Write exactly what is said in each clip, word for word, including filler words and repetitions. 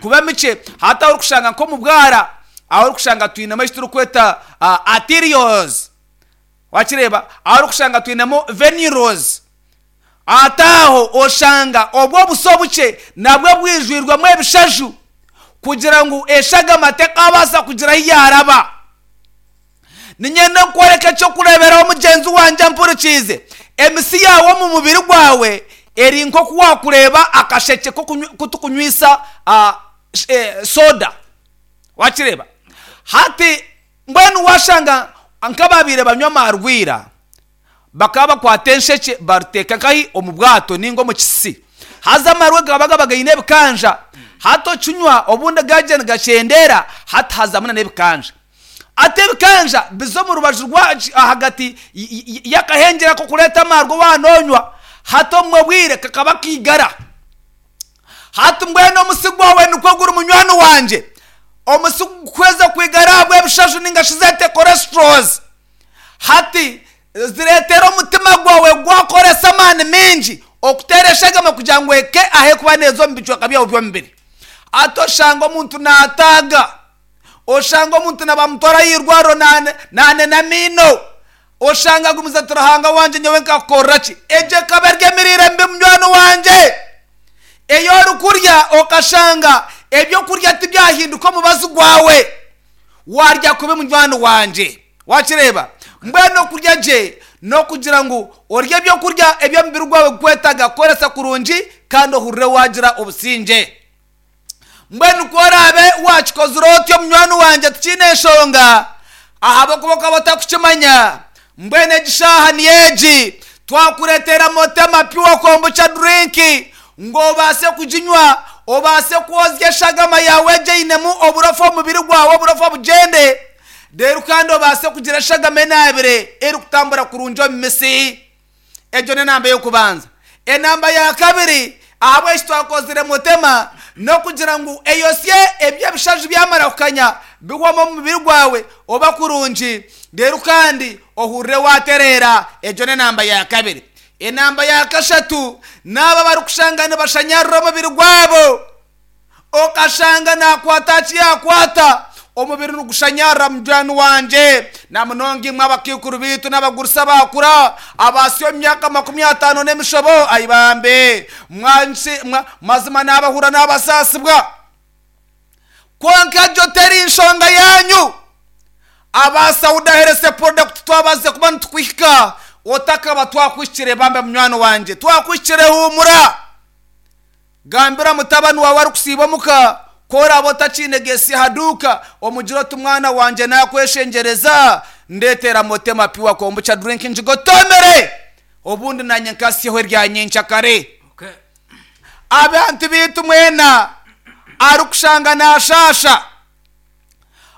Kuba mikye hati ahu orikushanga nk'omu bwara, ahu orikushanga twinemu eki turikweta arterioles, wakireeba? Ahu orikushanga twinemu venules, hati aho oshanga obwo obuso obukye nabwo bwijwirwemu ebishaju kugira ngu eshagama tekabaasa kugira ahu yaaraba. Niinyenda kukworeka eky'okureeberaho mugyenzi wangye ampurikiize. Emisi yaawe omu mubiri gwawe eri nk'oku waakureeba akashekye k'oku tukunywisa soda. Wakireeba? Hati mbwenu waashanga nk'abaabaire banywa amaarwa ira, bakaba bakwata enshekye bariteeka nkahi? Omu bwato nainga omu kisisi. Haza amaarwa gakaba gaba gaine ebikanja. Hati okinywa obundi gaagira nigakyendeera, hati hazamu n'ebikanja. Hati ebikanja biza omu rubaju rwa ahagati y'akahengyere ak'okureeta amaarwa waaba noonywa, hati obumwe obwire kakaba kaigara. Hati mbwenu omusi gwawe nikwo guri munywani wangye. Omusi gukuhweza kwigara ahabw'ebishaju nainga shi zeete cholesterols. Hati zireetera omutima gwawe gwakoresa amaani maingi okuteera eshagama kugira ngu ehike ahu erikuba neeza omu bicweka byawe by'omubiri. Hati oshanga omuntu naataaga, oshanga omuntu nibamutwara aha irwariro naanena amaino, oshanga agumize ati Ruhanga wangye nyowe nkakukorera ki? Egyo ekaba eri emiriire mibi munywani wangye. Ei orikurya okashanga ebyokurya tibyahinduka omubazi gwawe, waarya kubi munywani wangye. Wakireeba? Mbwenu okurya gye n'okugira ngu orye ebyokurya ebi omubiri gwawe gurikwetaaga kukoresa kurungi kandi ohurire waagira obusingye. Mbwenu ku oraabe waakikozire otyo munywani wangye tikiine nshonga, ahabw'okuba okaba otarikukimanya. Mbwenu egi shaaha niyo egi, twakureetera Motema Pure Kombucha Drink ngu obaase kuginywa, obaase kwozya eshagama yaawe egyo einemu oburofa omu mubiri gwawe, oburofa bugyende, reero kandi obaase kugira eshagama enaabire erikutambura kurungi omu misi. Egyo n'enamba y'okubanza. Enamba ya kabiri, ahabw'eki twakozire Motema, n'okugira ngu eyosye ebi ebishaju byamara kukanya bihwamu omu mubiri gwawe oba kurungi, reero kandi ohurire waatereera. Egyo n'enamba ya kabiri. Enamba ya kashatu, n'abo abarikushanga nibashanyarira omubiri gwabo. Okashanga naakwata aha ki yaakwata, omubiri nigushanyarira munywani wangye. Na munonga imwe abakaikuru baitu n'abagurusi abaakura, abaasya omu myaka makumi ataano n'emishobo, ai bambe, mazima naabahurira naabasaasibwa. Kwonka egyo teri nshonga yaanyu. Aba Sauda Health Product twabaasize kuba nitukuhika, otakaba twakuhikire bambe munywani wangye, twakuhikire huumura. Gambira mutabani waawe arikusiiba omuka ku oraabe otakiine gesi aha duuka, omugire oti, Mwana wangye naakweshengyereza, ndeetera Motema Pure Kombucha Drink ngigotomere, obundi naanye nkasyeho erya nyenkyakare. Abantu baitu mwena arikushanga naashaasha,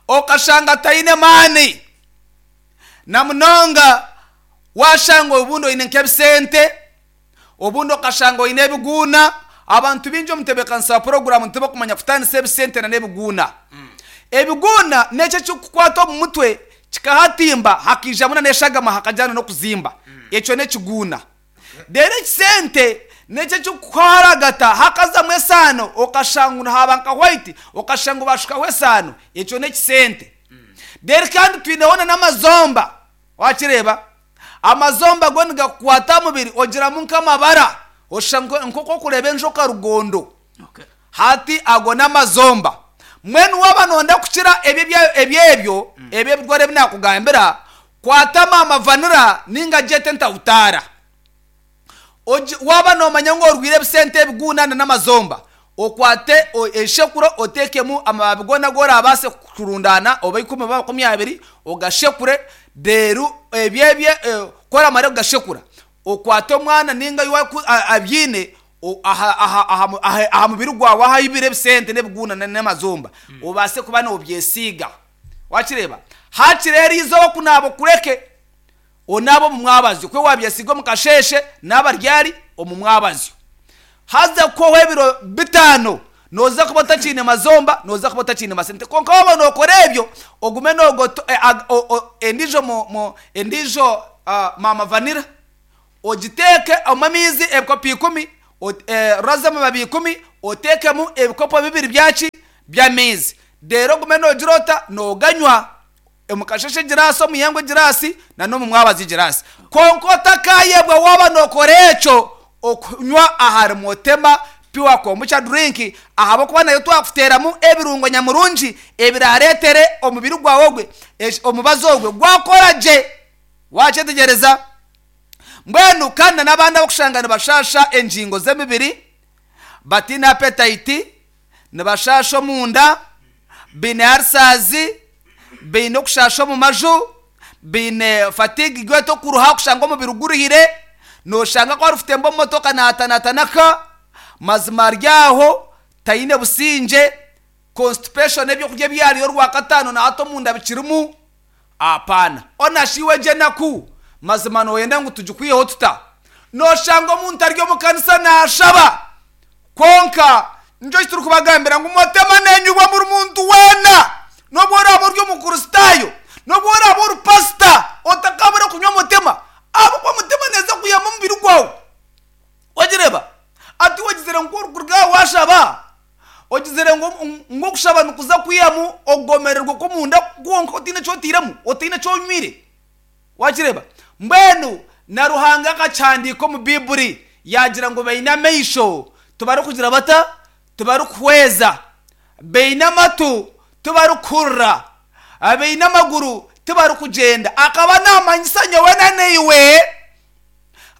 okashanga taine maani, na munonga waashanga obundi oine nk'ebisente, Obundi okashanga oine ebiguuna. Abantu baingi omu ntebeekanisa ya puroguraamu tibakumanya kutaanisa ebisente n'ebiguuna. Ebiguuna n'ekyo ekirikukukwata omu mutwe kikahatimba hakaijamu n'eshagama hakagyana n'okuzimba. Ekyo n'ekiguuna. Reero ekisente n'ekyo ekirikukuharagata hakazamu esaano okashanga ngu haaba nka white okashanga ngu baashukaho esaano. Ekyo n'ekisente. Reero kandi twineho n'amazomba. Wakireeba? Amazomba go nigakukwata aha mubiri ogiramu nk'amabara, oshusha nk'oku orikureeba enjoka rugondo. Hati ago n'amazomba. Mbwenu waaba nooyenda kukira ebyo ebyo ebirwara ebi naakugambira, kwata maama vanira nainga gyete entahutaara. Waaba noomanya ngu orwaire ebisente ebiguuna n'amazomba, okwate eshekuro oteekemu amababi goona agu oraabaase kurundaana oba ikumi oba makumi abiri ogashekure reero ebyo ebyo ku oramare kugashekura okwate omwana nainga iwe abyine aha mubiri gwawe ahaibire ebisente n'ebiguuna n'amazomba obaase kuba noobyesiiga. Waakireeba? Haakiri eriizooba kunaaba okureke. Onaaba omu mwabazyo, ku waabyesiiga omu kasheeshe, naaba ryari omu mwabazyo. Haza kuhwaho ebiro bitaano, nooza kuba otakiine mazomba, nooza kuba otakiine masente. Kwonka waaba nookora ebyo, ogume noogoto endiijo endiijo maama vanira, ogiteeke omu amaizi ebikopo ikumi, roza amababi ikumi, oteekemu ebikopo bibiri byaki? By'amaizi. Reero ogume noogira ota? Nooganywa. Omu kasheeshe egiraasi, omu ihangwe egiraasi, n'omu mwabazyo egiraasi. Kwonka otakaayebwa waaba nookora ekyo, okunywa ahari Motema Pure Kombucha Drink, ahabw'okuba nayo twakuteeramu ebirungo nyamurungi ebiraareetere omubiri gwawe ogwe, omubazi ogwe gwakora gye. Waakyetegyereza? Mbwenu kandi n'abandi abarikushanga nibashaasha engingo z'emibiri, bataine appetite, nibashaasha omunda, baine ulcers, baine okushaasha omu maju, baine fatigue gwete okuruha kushanga omubiri guruhire, noshanga ku arikutemba omu motoka naatanatanaka, mazima ari aho taine busingye, constipation ebyokurya ebi yaariire orwakataano na hati omunda bikirimu, apaana. Onashi iwe egyo enaku mazima nooyenda ngu tugikwiheho tuta? Noshanga omuntu ari omu kanisa naashaba, kwonka nikyo eki turikubagambira ngu Motema neenyubwa buri muntu weena, n'obu oraabe ori Omukristaayo, n'obu oraabe ori pasita, otakabura kunywa Motema, ahabw'okuba Motema neeza kuyamba omubiri gwawe. Wagireeba? Ati ogizire ngu ku orikuruga aha waashaba, ogizire ngu ngu okushaba nikuza kwihamu okugomererwa okw'omunda kwonka otaine eki otairemu, otaine eki onywire. Wakireeba? Mbwenu na Ruhanga akakihandiika omu Baiburi, yaagira ngu baine amaisho, tibarikugira bata? Tibarikuhweza. Baine amatu, tibarikuhurira. Baine amaguru, tibarikugyenda. Akaba naamanyisa nyowe na naiwe,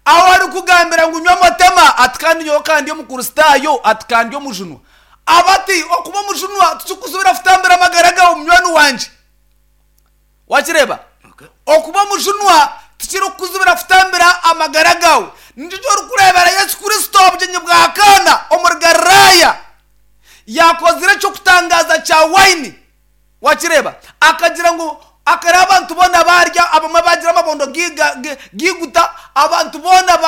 ahu arikugambira ngu nywa Motema, ati kandi nyowe ka ndi Omukristaayo, ati ka ndi omujunwa. Aba ati, okuba omujunwa tikikuzibira kutambira amagara gaawe munywani wangye. Wakireeba? Okuba omujunwa tikirikukuzibira kutambira amagara gaawe. Nikyo eki orikureebera Yesu Kristo aha bugyenyi bwa Kaana omuri Galilaaya. Yaakozire eky'okutangaaza kya waini. Wakireeba? Akagira ngu akareeba abantu boona baarya, abamwe baagira amabondo gaiguta, abantu boona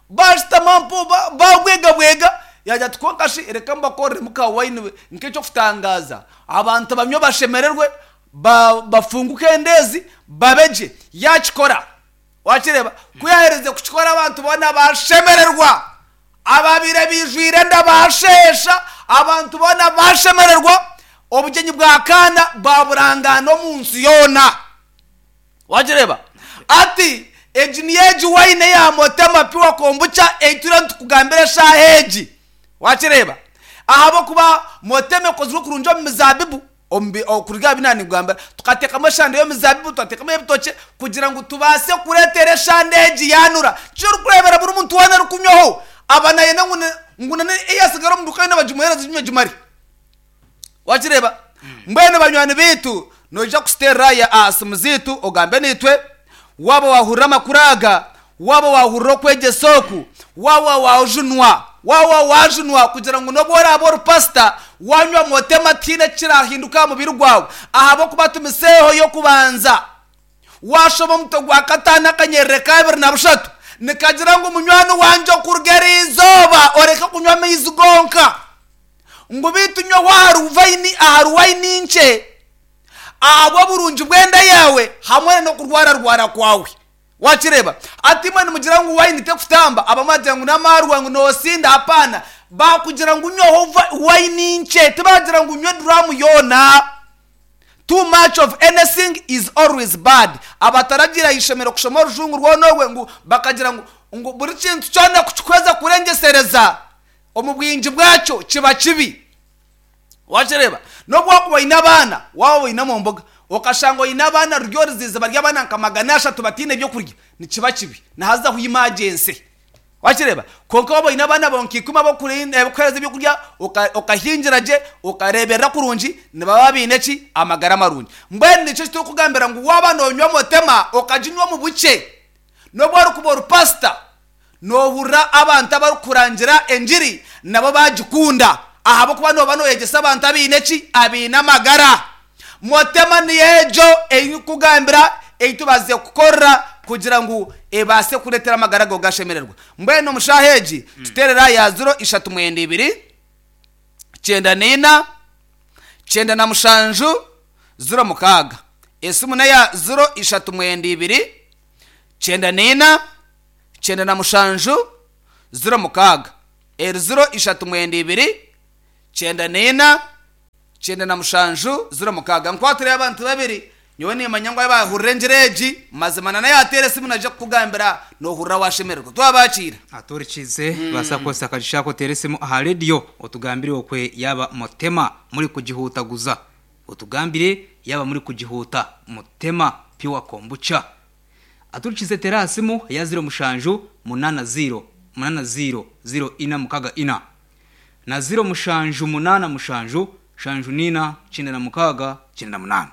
baashutama mpo baabwegabwega. Yaagira ati, Kwonka shi reka mbakoreremu ka waini nk'eky'okutangaaza, abantu banywe bashemererwe, bafunguke endeezi, babe gye. Yaakikora. Wakireeba? Ku yaaherize kukikora abantu boona baashemererwa. Ababaire baijwire enda baasheesha, abantu boona baashemererwa, obugyenyi bwa Kaana baaburangaana omu nsi yoona. Wagireeba? Ati, Egi niyo egi waini eya Motema Pure Kombucha ei turiyo nitukugambira eshaaha egi. Wakireeba? Ahabw'okuba Motema ekozirwe kurungi omu mizaabibu, omu bi, okuruga aha bi nanikugambira, tukateekamu eshande y'omuzaabibu, twateekamu ey'ebitookye, kugira ngu tubaase kureetera eshande egi yaanura. Nikyo orikureebera buri muntu weena arikunywaho, aba naayenda ngu ngu na eyaasigara omu duuka yoona bagimuheereze aginywe agimare. Wakireeba? Mbwenu banywani baitu, noija kusiterera ya aha simu zaitu ogambe naitwe, waaba waahurira amakuru aga, waaba waahurira okwegyesa oku, waaba waajunwa, waaba waajunwa kugira ngu n'obu oraabe ori pasita, waanywa motema tihaine ekiraahinduka aha mubiri gwawe, ahabw'okuba tumiseeho y'okubanza. Waashoma omutwe gwa kataano akanyerere ka abiri na bushatu, nikagira ngu munywani wangye okuruga eri izooba oreke kunywa amaizi gonka, ngu beitu nywaho ahari vaini ahari waini nkye, ahabw'oburungi bw'enda yaawe hamwe n'okurwararwara kwawe. Wakireeba? Hati imwe nimugira ngu waini tekutamba, abamwe bagira ngu n'amaarwa ngu noosinda, hapaana. Baakugira ngu nywaho waini nkye, tibaagira ngu nywa eduraamu yoona. Too much of anything is always bad. Abataragiire aha ishomero kushoma orujungu rwona orwe ngu bakagira ngu ngu buri kintu kyona kukihweza kurengyesereza omu bwingi bwakyo kiba kibi. Wakireeba? N'obu wakuba oine abaana, waaba oine omu mbuga, okashanga oine abaana ruri oruzizi bari abaana nka magana ashatu bataine by'okurya, nikiba kibi. Nihazaho emergency. Wakireeba? Kwonka waaba oine abaana baawe nka ikumi abu orikuheereza ebyokurya, okahingira gye, okareeberera kurungi, nibaba baine ki? Amagara marungi. Mbwenu nikyo eki turikugambira ngu waaba noonywa Motema, okaginywa omu bukye, n'obu orikuba ori pasita, noohurira abantu abarikukurangira engiri nabo baagikunda ahabw'okuba nooba nooyegyesa abantu abaine ki? Abaine amagara. Motema niyo egyo ei ndikukugambira ei tubaasize kukorera kugira ngu ebaase kureetera amagara gaawe gashemererwa. Mbwenu omu shaaha egi tuteerere aha ya ziro ishatu mwenda ibiri, kyenda na ina, kyenda na mushanju, ziro mukaaga. Esimu n'eya ziro ishatu mwenda ibiri, kyenda na ina, kyenda na mushanju, ziro mukaaga. Eri ziro ishatu mwenda ibiri, kyenda na ina, Kyenda na mushanju ziro mukaaga. Nkwatire abantu babiri, nyowe nimanya ngu abahurira engira egi mazima na naye ateera esimu naija kukugambira nohurira washemererwa. Twabakiira. Aturikize basa kukozesa akagisha ako oteera esimu aha rediyo, otugambire okwe yaba mutema muri kugihutaguza, otugambire yaba muri kugihuta mutema pure kombucha. Aturikize, tera aha simu ya ziro mushanju munana ziro munana ziro ziro ina mukaga ina na ziro mushanju munana mushanju shanju nina kyenda na mukaga kyenda na munana,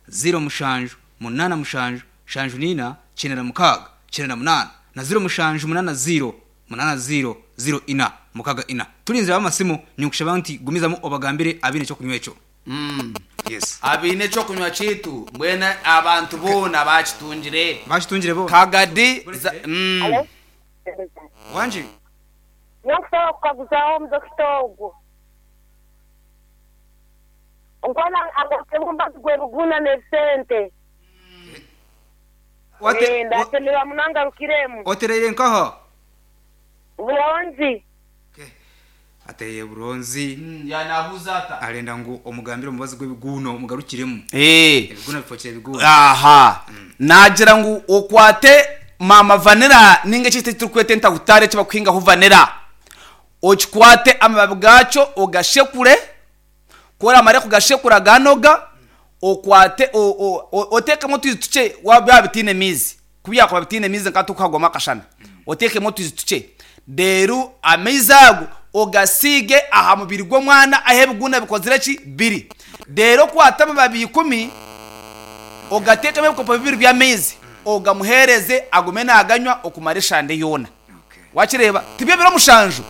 ziro mushanju munana mushanju shanju nina kyenda na mukaga kyenda na munana na ziro mushanju munana ziro munana ziro ziro ina mukaga ina. Turinzira amasimu, nikushaba nti gumizamu obagambire abine ekyokunywa ekyo. Yes. Abiine ekyokunywa kiitu, mbwenu abantu boona bakitungire. Bakitungire bo. Kagadi za- mm. Wangi. Nyokusaba kukaguzaho omudokita ogwo nkwana agarukemu gwebuguna n'ebisente. Wate- Ndasemererwa munangarukiremu. Otereire nkaho? Buronzi. Ateye buronzi. Mm, yanabuuza ata? Arenda ngu omugambire omubazi gw'ebiguno mugarukiremu. Eh. Ebiguno bifokire ebiguno. Aha, nagira ngu okwate mama vanilla ninga ekiti turikweta entahutare ekibakuhingaho vanilla, okikwate amababi gakyo ogashekure. Koramare kugashekura ganoga, okwate o- o- o- otekemu otwizi tukye byaba bitiine miizi, kubyakuba bitiine miizi nka tukuhagwamu akashana, otekemu otwizi tukye, reero amaizi ago ogasiige aha mubiri gw'omwana ahu ebiguna bikozire ki biri. Reero okwate amababi ikumi, ogateekemu ebikopo bibiri by'amaizi, ogamuheereze agume naganywa okumara eshande yoona. Okay. Wakireeba tibyo ebiro mushanju,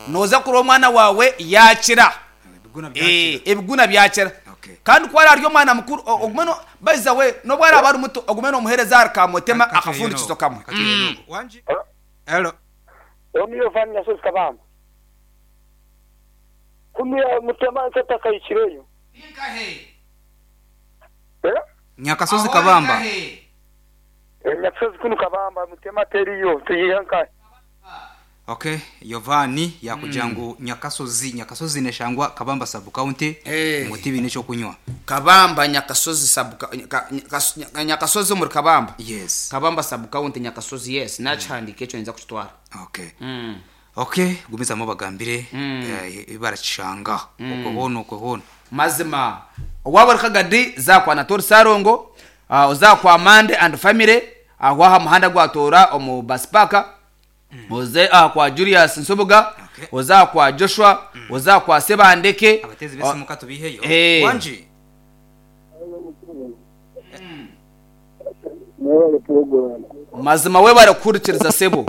noza kureba omwana wawe yakira. Ebiguna Eh, byakira. Ebiguna byakira. Okay. Kandi ku ari omwana mukuru, o- ogume no baiza we n'obu araba ari muto, ogume nomuheereza ahari kamutema akafundikizo kamwe. Wangi. Hello. Omiyo vani Nyasozi Kabamba. Kumiya mutema nsatakayikireyo. Eh? Nyakasozi Kabamba. Eh, Nyasozi kunu Kabamba mutema teriyo tuyihanka. Okay, Yovani yakugira ngu Nyakasozi, Nyakasozi neshangwa Kabamba sub county. Eh. Ngo tibine ekyo kunywa. Kabamba Nyakasozi sub Nya- Nya- Nyakasozi omuri Kabamba. Yes. Kabamba sub county, Nyakasozi, yes, nakihandika ekyo nyinza kukitwara. Okay. Mm. Okay, gumizamu bagambire eh, barakishanga okwo boona okwo boona. Mazima waba ori Kagadi, zakwa Natori Sarongo, uh, ozakwa Mande and family aho aha muhanda gwatora omu bus park, oze aha kwa Julius Nsubuga. Okay. Oza kwa Joshua, oza kwa Sebandeke. Abatezi b'esimu katubiheyo. Eh. Wangi. Mwebale program. Mazima we barakurikiriza sebo.